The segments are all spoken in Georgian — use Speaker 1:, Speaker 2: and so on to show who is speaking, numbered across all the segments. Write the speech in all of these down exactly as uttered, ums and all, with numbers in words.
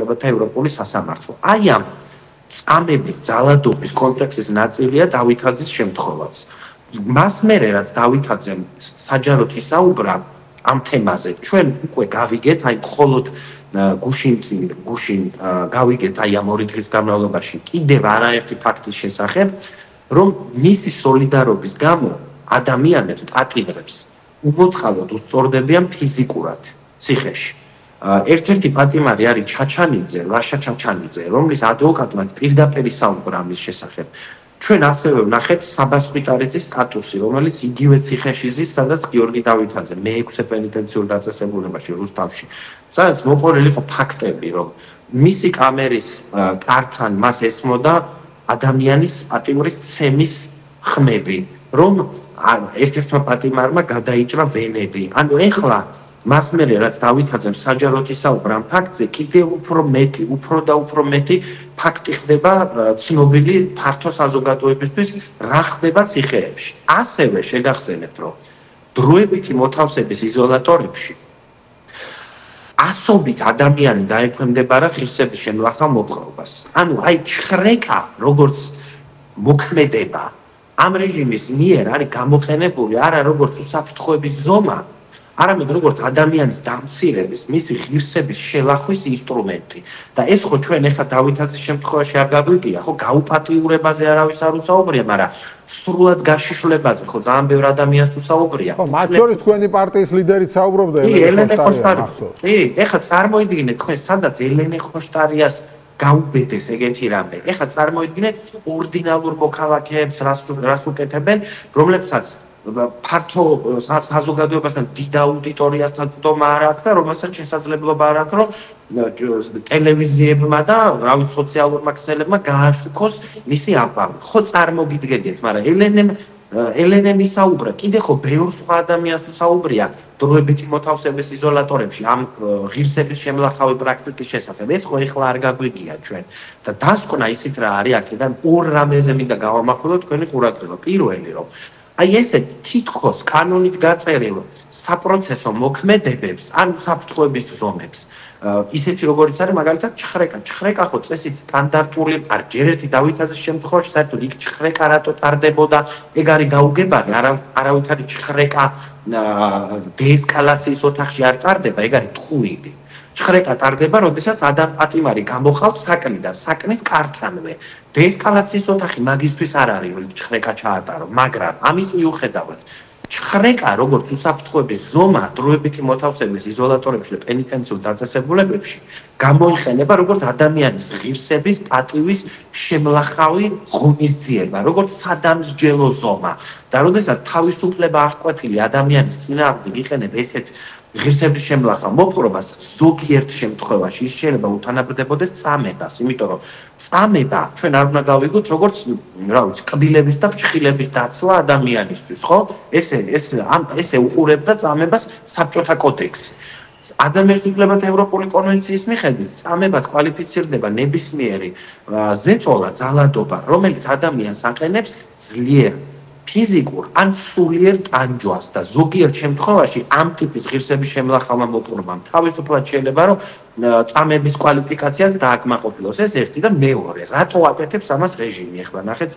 Speaker 1: ხელისუფლებათა ევროპული სასამართლო. აი ამ წამების ძალადობის კონტექსტის ნაწილია დავითაძის შემთხვევაც. მას მერე რაც დავითაძემ საჯაროდ ისაუბრა ამ თემაზე, ჩვენ უკვე გავიგეთ, აი მხოლოდ გუშინ გუშინ გავიგეთ აი ამ ორი დღის განმავლობაში კიდევ არაერთი ფაქტის შესახებ, რომ მისი სოლიდარობის გამო ადამიანებს პატიმრებს უმოწყალოდ უსწორდებიან ფიზიკურად ციხეში. ერთ-ერთი პატიმარი არის ჩაჩანიძე, ლაშა ჩაჩანიძე, რომლის ადვოკატმა პირდაპირ ისაუბრა ამის შესახებ. ჩვენ ასევე ვნახეთ საბას ხვიტარიძის სტატუსი, რომელიც იგივე ციხეში ზის, სადაც გიორგი დავითაძე მეექვსე პენიტენციურ დაწესებულებაში რუსთავში, სადაც მოყოლილი იყო ფაქტები, რომ მისი კამერის კართან მას ესმოდა ადამიანის პატიმრის ცემის ხმები, რომ ერთ-ერთმა პატიმარმა გადაიჭრა ვენები. ანუ ეხლა მას მერე რაც დავითაძემ საჯაროდ ისაუბრა ამ ფაქტზე, კიდევ უფრო მეტი, უფრო და უფრო მეტი ფაქტი ხდება ცნობილი ფართო საზოგადოებისთვის, რა ხდება ციხეებში. ასევე შეგახსენებთ, რომ დროებითი მოთავსების იზოლატორებში ასობით ადამიანი დაექვემდებარა ღირსების შემლახავ მოპყრობას. ანუ აი ჩხრეკა, როგორც მოქმედება ამ რეჟიმის მიერ არის გამოყენებული არა როგორც უსაფრთხოების ზომა, არამედ როგორც ადამიანის დამცირების, მისი ღირსების შელახვის ინსტრუმენტი. და ეს ხო ჩვენ ახლა დავითაძის შემთხვევაში არ გაგვიგია, ხო გაუპატიურებაზე არავის არ უსაუბრია, მაგრამ სრულად გაშიშვლებაზე ხო ძალიან ბევრ ადამიანს უსაუბრია.
Speaker 2: ხო, მათ შორის თქვენი პარტიის ლიდერიც საუბრობდა
Speaker 1: ელენე ხოშტარია. კი, ეხლა წარმოიდგინეთ თქვენ სადაც ელენე ხოშტარიას გაუბედეს ეგეთი რამე. ეხლა წარმოიდგინეთ ორდინალურ მოქალაქეებს, რას უკეთებენ, რომლებსაც ფართო საზოგადოებასთან დიდ აუდიტორიასთან წვდომა არ აქვს და რომელსაც შესაძლებლობა არ აქვს, რომ ტელევიზიებმა და რავი სოციალურმა ქსელებმა გააშუქოს მისი აბავი. ხო წარმოგიდგენიათ, მაგრამ ელენემ ელენემ ისაუბრა, კიდე ხო ბევრ სხვა ადამიანს უსაუბრია დროებითი მოთავსების იზოლატორებში ამ ღირსების შემლახავი პრაქტიკის შესახებ. ეს ხო ეხლა არ გაგვიგია ჩვენ. და დასკვნა ისიც რა არის აქედან ორ რამეზე მინდა გავამახვილო თქვენი ყურადღება. პირველი რომ აი ესეთ თითქოს კანონით გაწერილ საპროცესო მოქმედებებს, ან საფრთხოების ზომებს, ისეთი როგორიც არის მაგალითად ჩხრეკა. ჩხრეკა ხო წესით სტანდარტული არ ჯერ ერთი დავითაძის შემთხვევაში საერთოდ იქ ჩხრეკა რატო ტარდებოდა, ეგ არის გაუგებარი, არავითარი ჩხრეკა დეესკალაციის ოთახში არ ტარდება, ეგ არის ტყუილი. ჩხრეკა ტარდება, როდესაც ადამ პატიმარი გამოყავთ საკნიდან, საკნის კართანვე. დეესკალაციის ოთახი მაგისთვის არ არის, რომ ჩხრეკა ჩაატარო, მაგრამ ამის მიუხედავად ჩხრეკა როგორც უსაფრთხოების ზომა დროებითი მოთავსების იზოლატორებში და პენიტენციურ დაწესებულებებში გამოიყენება როგორც ადამიანის ღირსების, პატივის შემლახავი ღონისძიება, როგორც სადამსჯელო ზომა. და როდესაც თავისუფლება აღკვეთილი ადამიანის წინააღმდეგ იყენებს ესეთ ღირსების შემლახავ მოპყრობას, ზოგიერთ შემთხვევაში ის შეიძლება უთანაბრდებოდეს წამებას, იმიტომ რომ წამება ჩვენ არ უნდა გავიგოთ როგორც რა ვიცი, კბილების და ფრჩხილების დაცვა ადამიანისთვის, ხო? ესე ეს ესე უყურებდა წამებას საბჭოთა კოდექსი. ადამიანის უფლებათა ევროპული კონვენციის მიხედვით წამებად კვალიფიცირდება ნებისმიერი ზეწოლა, ძალადობა, რომელიც ადამიანს აყენებს ძლიერ ფიზიკურ ან სულიერ ტანჯვას და ზოგიერთ შემთხვევაში ამ ტიპის ღირსების შემლახავმა მოპყრობამ თავისუფლად შეიძლება რომ წამების კვალიფიკაციაზე დააკმაყოფილოს. ეს ერთი და მეორე, რატო აკეთებს ამას რეჟიმი? ახლა ნახეთ,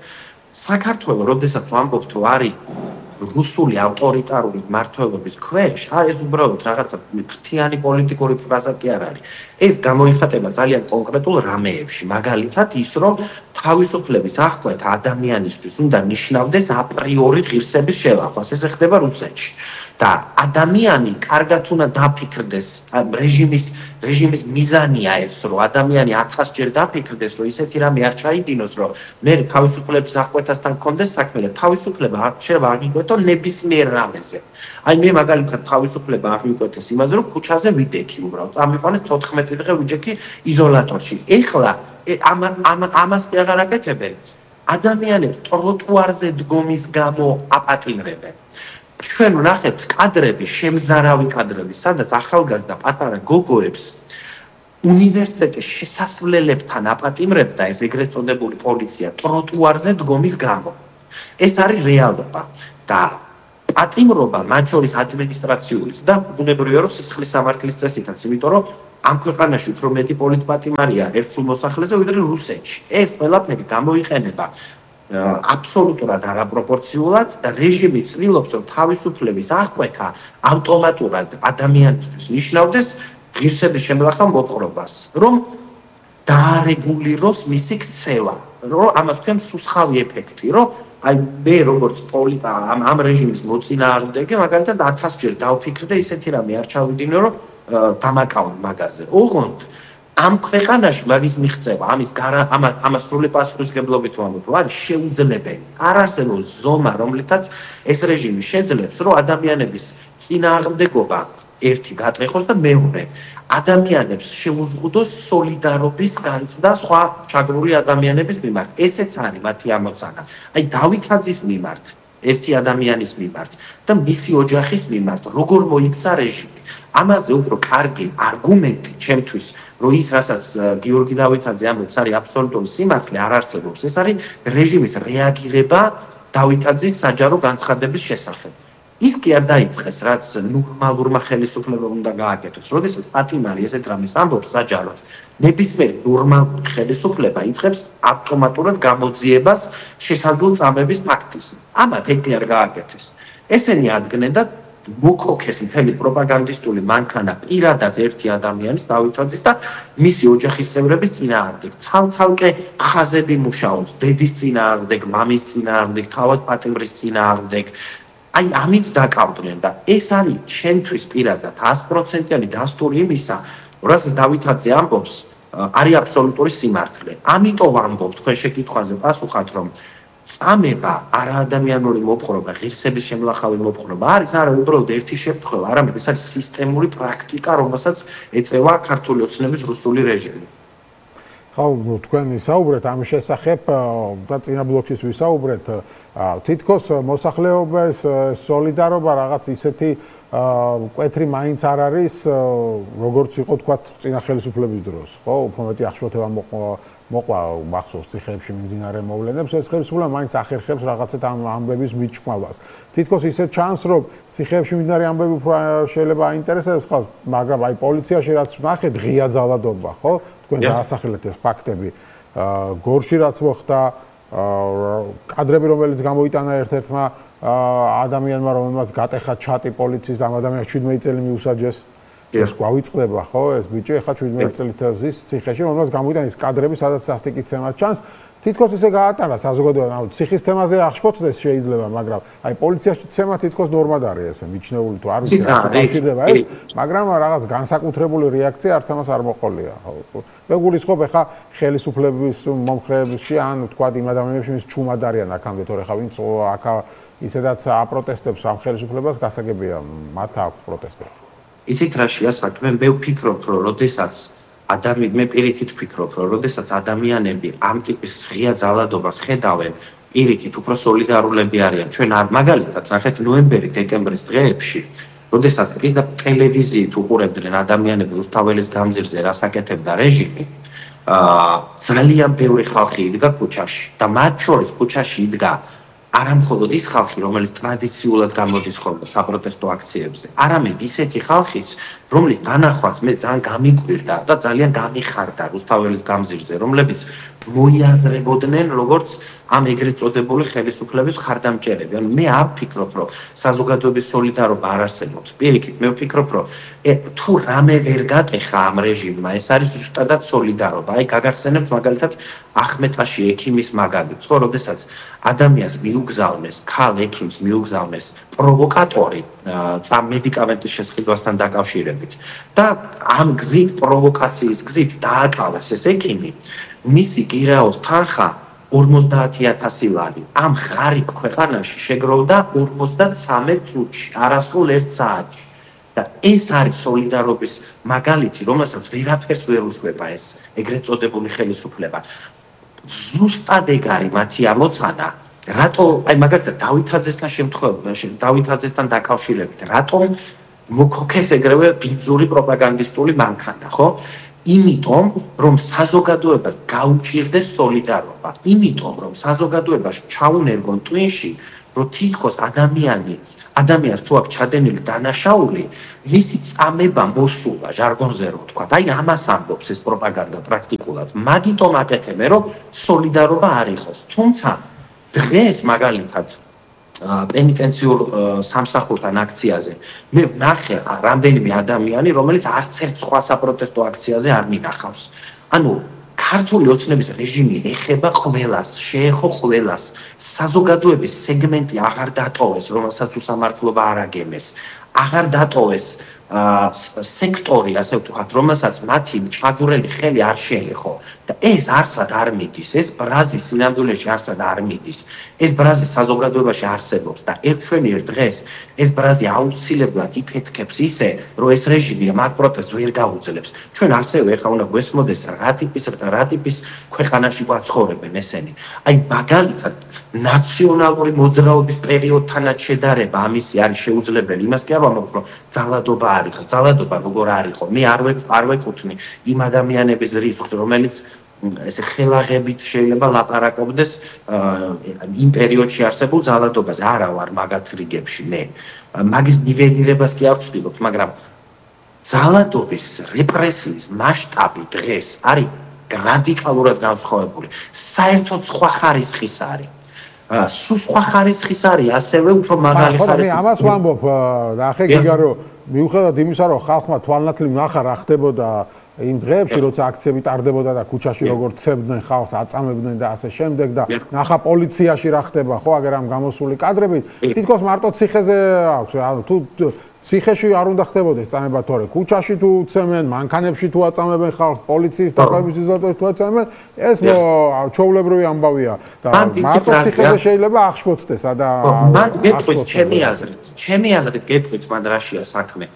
Speaker 1: საქართველო, როდესაც ვამბობთ, რომ არის რუსული ავტორიტარული მმართველობის ქვეშ, აი ეს უბრალოდ რაღაცა ფრთიანი პოლიტიკური ფრაზა კი არ არის. ეს გამოიხატება ძალიან კონკრეტულ რამეებში, მაგალითად ის, რომ თავისუფლების აღკვეთა ადამიანისთვის უნდა ნიშნავდეს აპრიორი ღირსების შელახვას. ეს ხდება რუსეთში. და ადამიანი კარგად უნდა დაფიქრდეს, რეჟიმის რეჟიმის მიზანია ეს, რომ ადამიანი ათასჯერ დაფიქრდეს, რომ ისეთი რამე არ ჩაიდინოს, რომ მე თავისუფლების აღკვეთასთან გქონდეს საქმე და თავისუფლება შეიძლება აღიკვეთო ნებისმიერ რამეზე. აი მე მაგალითად თავისუფლება აღიკვეთეს იმაზე, რომ ქუჩაზე ვიდექი უბრალოდ. წამიყვანეს თოთხმეტი დღე ვიჯექი იზოლატორში. ეხლა ამ ამ ამას კი აღარ აკეთებენ. ადამიანებს ტროტუარზე დგომის გამო აპატიმრებენ. ჩვენ ვნახეთ კადრები, შემზარავი კადრები, სადაც ახალგაზრდა პატარა გოგოებს უნივერსიტეტის შესასვლელებთან აპატიმრებდა ეს ეგრეთ წოდებული პოლიცია ტროტუარზე დგომის გამო. ეს არის რეალობა და პატიმრობა მათ შორის ადმინისტრაციულიც და ბუნებრივია რომ სისხლის სამართლის წესითაც, იმიტომ რომ ამ ქვეყანაში უფრო მეტი პოლიტპატიმარია ერთსულ მოსახლეზე ვიდრე რუსეთში. ეს ყველაფერი გამოიყენება აბსოლუტურად არაპროპორციულად და რეჟიმი ცდილობს რომ თავისუფლების აღკვეთა ავტომატურად ადამიანისთვის ნიშნავდეს ღირსების შემლახა მოპყრობას, რომ დაარეგულიროს მისი ქცევა, რომ ამას ქვია სუსხავი ეფექტი, რომ აი მე როგორც პოლიტა ამ ამ რეჟიმის მოწინააღმდეგე მაგალითად ათასჯერ დავფიქრდე ისეთი რამე არ ჩავიდინე რომ დამაკავე მაგაზე. ოღონდ ამ ქვეყანაში მაგის მიღწევა, ამის ამას სრული პასუხისმგებლობით ვამბობ, რომ არის შეუძლებელი. არ არსებობს ზომა, რომლითაც ეს რეჟიმი შეძლებს, რომ ადამიანების წინააღმდეგობა ერთი გატეხოს და მეორე ადამიანებს შეუზღუდოს სოლიდარობის განცდა სხვა ჩაგრული ადამიანების მიმართ. ესეც არის მათი ამოცანა. აი დავითაძის მიმართ, ერთი ადამიანის მიმართ და მისი ოჯახის მიმართ, როგორ მოიქცა რეჟიმი. ამაზე უფრო კარგი არგუმენტი ჩემთვის, რომ ის რასაც გიორგი დავითაძე ამბობს, არის აბსოლუტური სიმართლე, არ არსებობს. ეს არის რეჟიმის რეაგირება დავითაძის საჯარო განცხადების შესახებ. ის კი არ დაიწყეს, რაც ნორმალურმა ხელისუფლებამ უნდა გააკეთოს. როდესაც პატიმარი ესეთ რამეს ამბობს საჯაროდ, ნებისმიერი ნორმალური ხელისუფლება იწყებს ავტომატურად გამოძიებას შესაძლო წამების ფაქტის. ამათ ეგ კი არ გააკეთეს. ესენი ადგენენ და მოკოქეს მთელი პროპაგანდისტული მანქანა პირადად ერთი ადამიანის დავითაძის და მისი ოჯახის წევრების წინააღმდეგ. ცალ-ცალკე ხაზები მუშაობს დედის წინააღმდეგ, მამის წინააღმდეგ, თავად პატიმრის წინააღმდეგ. აი ამით დაკავდნენ და ეს არის ჩემთვის პირადად ათი პროცენტიანი დასტური იმისა, რასაც დავითაძე ამბობს, არის აბსოლუტური სიმართლე. ამიტომ ვამბობ თქვენ შეკითხვაზე პასუხად, რომ წამება არაადამიანური მოპყრობა, ღირსების შემლახავი მოპყრობა არის არა უბრალოდ ერთი შემთხვევა, არამედ ეს არის სისტემური პრაქტიკა, რომელსაც ეწევა ქართული ოცნების რუსული რეჟიმი.
Speaker 2: ხო, თქვენ ვისაუბრეთ ამ შესახებ და წინა ბლოკშიც ვისაუბრეთ, თითქოს მოსახლეობის სოლიდარობა რაღაც ისეთი კვეთრი მაინც არ არის, როგორც იყო თქვათ წინა ხელისუფლების დროს, ხო? უფრო მეტი ახშობება მოყვა მახსოვს ციხეებში მიმდინარე მოვლენებს, ეს ხელისუფლება მაინც ახერხებს რაღაცეთ ამ ამბების მიჭკმავას. თითქოს ისე ჩანს, რომ ციხეებში მიმდინარე ამბები უფრო შეიძლება აინტერესებს ხალხს, მაგრამ აი პოლიციაში რაც ნახეთ, ღია ძალადობა, ხო? თქვენ დაასახელეთ ეს ფაქტები. გორში რაც მოხდა, კადრები რომელიც გამოიტანა ერთ-ერთმა ადამიანმა, რომელმაც გატეხა ჩატი პოლიციის და ამ ადამიანს შვიდმეტი წელი მიუსაჯეს. ეს გვავიწყდება, ხო, ეს ბიჭი ახლა შვიდმეტი წელით ზის ციხეში, რომელმაც გამოიტანა ის კადრები, სადაც სასტიკი ცემა ჩანს. თითქოს ისე გაატარა საზოგადოებამ, ციხის თემაზე აღშფოთდეს შეიძლება, მაგრამ აი პოლიციაში ცემა თითქოს ნორმად არის ესე, მიჩნეული თუ არ ვიცი რა შეიძლება ეს, მაგრამ რაღაც განსაკუთრებული რეაქცია არც ამას არ მოყოლია, ხო. მე გულისხმობ ახლა ხელისუფლების მომხრეებში ან თქვა იმ ადამიანებში, ვინც ჩუმად არიან აქამდე, თორე ხა ვინც აქ ისედაც აპროტესტებს ამ ხელისუფლებას, გასაგებია, მათ აქვს პროტესტები.
Speaker 1: ისეთ რაშია საქმე, მე ვფიქრობ, რომ როდესაც ადამიანი მე პირიქით ვფიქრობ, რომ როდესაც ადამიანები ამ ტიპის ღია ძალადობას ხედავენ, პირიქით უფრო სოლიდარულები არიან. ჩვენ არ მაგალითად ნახეთ ნოემბერი-დეკემბრის დღეებში, როდესაც პირდაპირ ტელევიზიით უყურებდნენ ადამიანები რუსთაველის გამზირზე რას აკეთებდა რეჟიმი, აა ძალიან ბევრი ხალხი იდგა ქუჩაში და მათ შორის ქუჩაში იდგა არა მხოლოდ ის ხალხი, რომელიც ტრადიციულად გამოდის ხოლმე საპროტესტო აქციებზე, არამედ ისეთი ხალხიც, რომლის დანახვაც მე ძალიან გამიკვირდა და ძალიან გამიხარდა რუსთაველის გამზირზე, რომლებიც მოიაზრებოდნენ როგორც ამ ეგრეთ წოდებული ხელისუფლების ხარდამჭერები. ანუ მე არ ვფიქრობ, რომ საზოგადოების სოლიდარობა არ არსებობს. პირიქით, მე ვფიქრობ, რომ თუ რამე ვერ გატეხა ამ რეჟიმმა, ეს არის ზუსტადად სოლიდარობა. აი გაგახსენებთ მაგალითად ახმეტაში ექიმის მაგალითს, ხო, როდესაც ადამიანს მიუგზავნეს, ქალ ექიმს მიუგზავნეს პროვოკატორი წამ მედიკამენტის შესყიდვასთან დაკავშირებით და ამ გზით პროვოკაციის გზით დააკავეს ეს ექიმი, მისი გირაოს თანხა ორმოცდაათი ათასი ლარი. ამ ღარიბ ქვეყანაში შეგროვდა ორმოცდაცამეტ წუთში, არასრულ ერთ საათში. და ეს არის სოლიდარობის მაგალითი, რომელსაც ვერაფერს ვერ უშვება ეს ეგრეთ წოდებული ხელისუფლება. ზუსტად ეგ არის მათი ამოცანა. რატო, აი მაგალითად დავითაძესთან შემთხვევაში, დავითაძესთან დაკავშირებით, რატომ მოკოქეს ეგრევე ბინძური პროპაგანდისტული მანქანა, ხო? იმიტომ, რომ საზოგადოებას გაუჭირდეს სოლიდარობა. იმიტომ, რომ საზოგადოებას ჩაუნერგონ ტვინში, რომ თითქოს ადამიანი ადამიანს თუ აქვს ჩადენილი დანაშაული, მისი წამება მოსულა, ჟარგონზე რო ვთქვა. აი ამას ამბობს ეს პროპაგანდა პრაქტიკულად. მაგიტომ აკეთებენ, რომ სოლიდარობა არ იყოს. თუმცა დღეს მაგალითად პენიტენციურ სამსახურთან აქციაზე მე ვნახე რამდენიმე ადამიანი, რომელიც არც ერთ სხვა საპროტესტო აქციაზე არ მინახავს. ანუ ქართული ოცნების რეჟიმი ეხება ყველას, შეეხო ყველას. საზოგადოების სეგმენტი აღარ დატოვეს, რომელსაც უსამართლობა არ აგემეს. აღარ დატოვეს სექტორი, ასე ვთქვათ, რომელსაც მათი ჩაგვრელი ხელი არ შეეხო. და ეს არსად არ მიდის, ეს ბრაზი სინამდვილეში არსად არ მიდის. ეს ბრაზი საზოგადოებაში არსებობს და ერთშვენიერ დღეს ეს ბრაზი აუცილებლად იფეთქებს ისე, რომ ეს რეჟიმი მაგ პროტესტს ვერ გაუძლებს. ჩვენ ასევე ახლა უნდა გვესმოდეს რა ტიპის რა ტიპის ქვეყანაში გვაცხოვრებენ ესენი. აი მაგალითად ნაციონალური მოძრაობის პერიოდთანაც შედარება ამისი არის შეუძლებელი. იმას კი არ ვამბობ, რომ ძალადობა არის, ძალადობა როგორ არისო. მე არ არ ვეკუთვნი იმ ადამიანების რიცხვს, რომელიც ესე ხელაღებით შეიძლება ლაპარაკობდეს იმ პერიოდში არსებულ ძალადობაზე. არა ვარ მაგათ რიგებში მე. მაგის ნიველირებას კი არ ვცდილობ, მაგრამ ძალადობის რეპრესიის მასშტაბი დღეს არის რადიკალურად განსხვავებული. საერთოდ სხვა ხარისხის არის. სულ სხვა ხარისხის არის, ასევე უფრო მაღალი ხარისხის.
Speaker 2: მე ამას ვამბობ, ნახე გიგა, რომ მიუხედავად იმისა, რომ ხალხმა თვალნათლი ნახა რა ხდებოდა იმ დღეებში, როცა აქციები ტარდებოდა და ქუჩაში როგორ ცებდნენ ხალხს, აწამებდნენ და ასე შემდეგ და ნახა პოლიციაში რა ხდება, ხო, აგერ ამ გამოსული კადრები, თითქოს მარტო ციხეზე აქვს, ანუ თუ ციხეში არ უნდა ხდებოდეს წამება თორე, ქუჩაში თუ ცემენ, მანქანებში თუ აწამებენ ხალხს, პოლიციის დაკავების სიტუაციაში თუ აწამებენ, ეს ჩვეულებრივი ამბავია და მარტო ციხეზე შეიძლება აღშფოთდეს და
Speaker 1: მან გეტყვით ჩემი აზრით, ჩემი აზრით გეტყვით მან რაშია საქმე.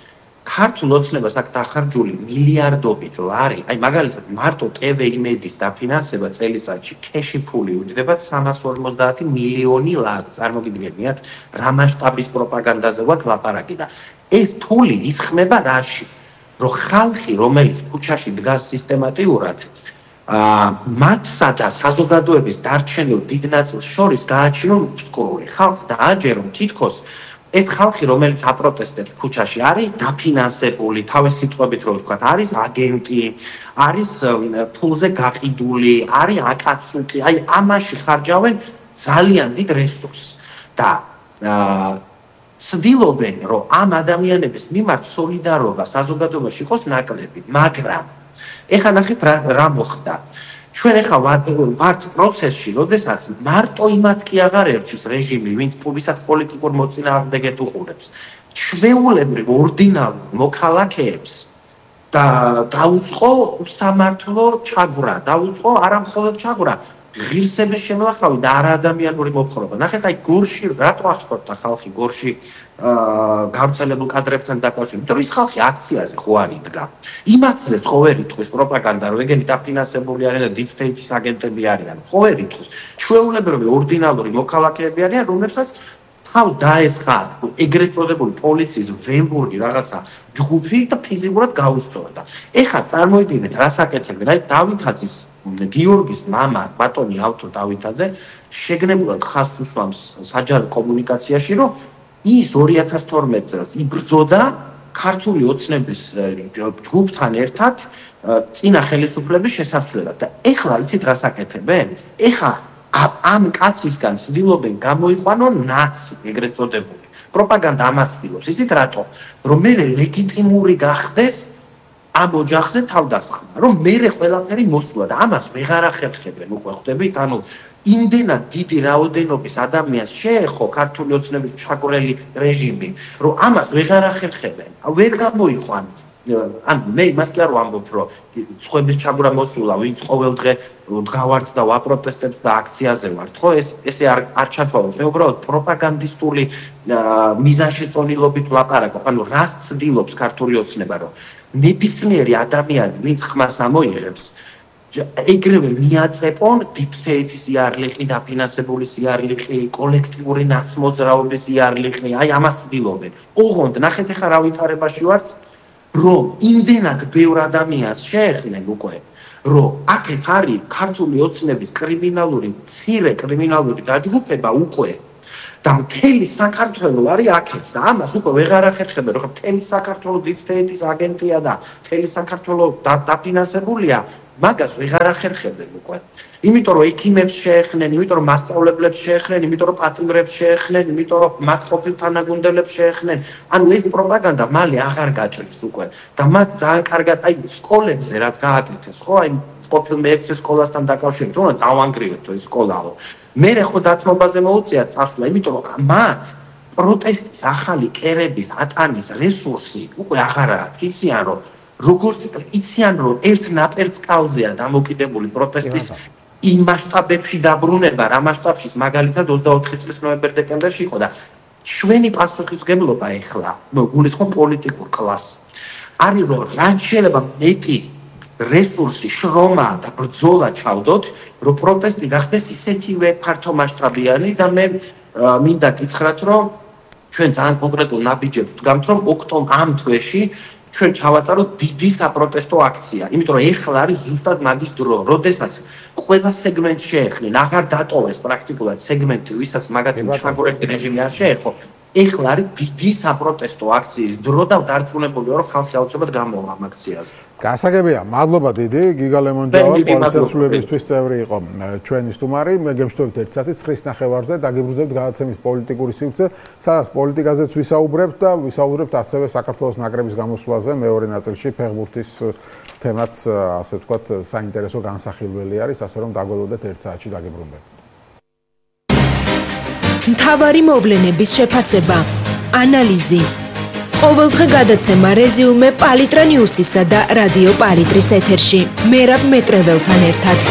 Speaker 1: ქართულ ოცნებას აქ დახარჯული მილიარდობით ლარი, აი მაგალითად მარტო ტე ვე იმედის დაფინანსება წელიწადში ქეში ფული უჯდება სამას ორმოცდაათი მილიონი ლარი. წარმოგიდგენიათ, რა მასშტაბის პროპაგანდაზე გვაქვს ლაპარაკი და ეს ფული ისხმება რაში? რომ ხალხი, რომელიც ქუჩაში დგას სისტემატიურად, აა მათსა და საზოგადოების დარჩენილ დიდ ნაწილს შორის გააჩინონ მსკრული. ხალხს დააჯერონ თითქოს ეს ხალხი, რომელიც აპროტესტებს ქუჩაში, არის დაფინანსებული, თავის სიტყვებით რო ვთქვათ, არის აგენტი, არის ფულზე გაყიდული, არის აკაცუკი, აი ამაში ხარჯავენ ძალიან დიდ რესურსს და ცდილობენ, რომ ამ ადამიანების მიმართ სოლიდარობა საზოგადოებაში იყოს ნაკლები, მაგრამ ეხლა ნახეთ რა მოხდა. ჩვენ ახლა ვართ პროცესში, როდესაც მარტო იმათ კი აღარ ერჩის რეჟიმი, ვინც ვისაც პოლიტიკურ მოწინააღმდეგეთ უყურებს. ჩვეულებრივ ორდინალურ მოქალაქეებს და დაუწყო სამართლო ჩაგვრა, დაუწყო არა მხოლოდ ჩაგვრა, ღირსების შემლახავი და არაადამიანური მოთხრობა. ნახეთ, აი გორში რატო აღშფოთდა ხალხი გორში გავრცელებულ კადრებთან დაკავშირებით, რომ ის ხალხი აქციაზე ხო არ იდგა. იმათზე ხო ვერ იტყვის პროპაგანდა, რომ ეგენი დაფინანსებული არიან და deep state-ის აგენტები არიან. ხო ვერ იტყვის. ჩვეულებრივი ორდინალური მოქალაქეები არიან, რომლებსაც თავს დაესხა ეგრეთ წოდებული პოლიციის ვემბურგი რაღაცა ჯგუფი და ფიზიკურად გაუსწორდა. ეხლა წარმოიდგინეთ, რას აკეთებენ? აი დავითაძის გიორგის მამა, ბატონი ავთო დავითაძე, შეგნებულად ხაზს უსვამს საჯარო კომუნიკაციაში, რომ ის ორი ათას თორმეტ წელს იბრძოდა ქართული ოცნების ჯგუფთან ერთად წინა ხელისუფლების შესაცვლელად და ეხლა იცით რას აკეთებენ? ეხლა ამ კაცისგან ცდილობენ გამოიყვანონ ნაცი, ეგრეთ წოდებული. პროპაგანდა ამას ცდილობს. იცით რატო? რომ მე ლეგიტიმური გახდეს ამ ოჯახზე თავდასხმა, რომ მე ყველაფერი მოსულა და ამას ვეღარ ახერხებენ, უკვე ხვდებით, ანუ იმდენად დიდი რაოდენობის ადამიანს შეეხო ქართული ოცნების ჩაგვრელი რეჟიმი, რომ ამას ვეღარ ახერხებენ, ვერ გამოიყვან. ან მე იმას კი არ ვამბობ, რომ სხვების ჩაგვრა მოსულა, ვინც ყოველ დღე დგავართ და ვაპროტესტებთ და აქციაზე ვართ, ხო? ეს ესე არ არ ჩათვალოთ. მე უბრალოდ პროპაგანდისტული მიზანშეწონილობით ვლაპარაკობ. ანუ რას ცდილობს ქართული ოცნება, რომ ნებისმიერი ადამიანი, ვინც ხმას ამოიღებს, ეგრევე მიაწეპონ deep state-ის იარლიხი, დაფინანსებული იარლიხი, კოლექტიური ნაცმოძრაობის იარლიხი, აი ამას ცდილობენ. ოღონდ ნახეთ ახლა რა ვითარებაში ვართ, რომ იმდენად ბევრ ადამიანს შეეხნენ უკვე, რომ აქეთ არის ქართული ოცნების კრიმინალური, მცირე კრიმინალური დაჯგუფება უკვე და მთელი საქართველო არის აქეთ და ამას უკვე ვეღარ ახერხებენ, რომ მთელი საქართველო დიფტეიტის აგენტია და მთელი საქართველო დაფინანსებულია, მაგას ვეღარ ახერხებენ უკვე. იმიტომ რომ ექიმებს შეეხნენ, იმიტომ რომ მასწავლებლებს შეეხნენ, იმიტომ რომ პატიმრებს შეეხნენ, იმიტომ რომ მათ ყოფილ თანაგუნდელებს შეეხნენ. ანუ ეს პროპაგანდა მალე აღარ გაჭრის უკვე და მათ ძალიან კარგად აი სკოლებზე რაც გააკეთეს, ხო, აი ყოფილ მეექვსე სკოლასთან დაკავშირებით, რომ დავანგრიოთ ეს სკოლაო. მე ხო დათმობაზე მოუწიათ წასვლა, იმიტომ რომ მათ პროტესტის ახალი კერების ატანის რესურსი უკვე აღარ აქვს. იციან რომ როგორც იციან რომ ერთ ნაპერწკალზეა დამოკიდებული პროტესტის იმ მასშტაბებში დაბრუნება, რა მასშტაბშიც მაგალითად ოცდაოთხი წლის ნოემბერ-დეკემბერში იყო და ჩვენი პასუხისმგებლობა ეხლა, გულისხმობ პოლიტიკურ კლასს. არის რომ რაც შეიძლება მეტი რესურსი, შრომა და ბრძოლა ჩავდოთ, რომ პროტესტი გახდეს ისეთივე ფართომასშტაბიანი და მე მინდა გითხრათ, რომ ჩვენ ძალიან კონკრეტულ ნაბიჯებს ვდგამთ, რომ ოქტომბერ ამ თვეში ჩვენ ჩავატაროთ დიდი საპროტესტო აქცია, იმიტომ რომ ეხლა არის ზუსტად მაგის დრო, როდესაც ყველა სეგმენტს შეეხნენ, აღარ დატოვეს პრაქტიკულად სეგმენტი, ვისაც მაგათი ჩაგორებული რეჟიმი არ შეეხო. ეხლა არის დიდი საპროტესტო აქციის დრო და დარწმუნებული ვარ, რომ ხალხი აუცილებლად გამოვა ამ აქციაზე.
Speaker 2: გასაგებია, მადლობა დიდი, გიგა ლემონჯავა, პოლიციასრულების წევრი იყო ჩვენი სტუმარი. მე გემშვიდობთ ერთ საათი ცხრის ნახევარზე, დაგიბრუნებთ გადაცემის პოლიტიკური სივრცე, სადაც პოლიტიკაზეც ვისაუბრებთ და ვისაუბრებთ ასევე საქართველოს ნაკრების გამოსვლაზე მეორე ნაწილში ფეხბურთის თემაც, ასე ვთქვათ, საინტერესო განსახილველი არის, ასე რომ დაგველოდეთ ერთ საათში დაგიბრუნებთ.
Speaker 3: მთავარი მოვლენების შეფასება, ანალიზი. ყოველდღე გადაცემა რეზიუმე პალიტრა ნიუსისა და რადიო პალიტრის ეთერში. მერაბ მეტრეველთან ერთად.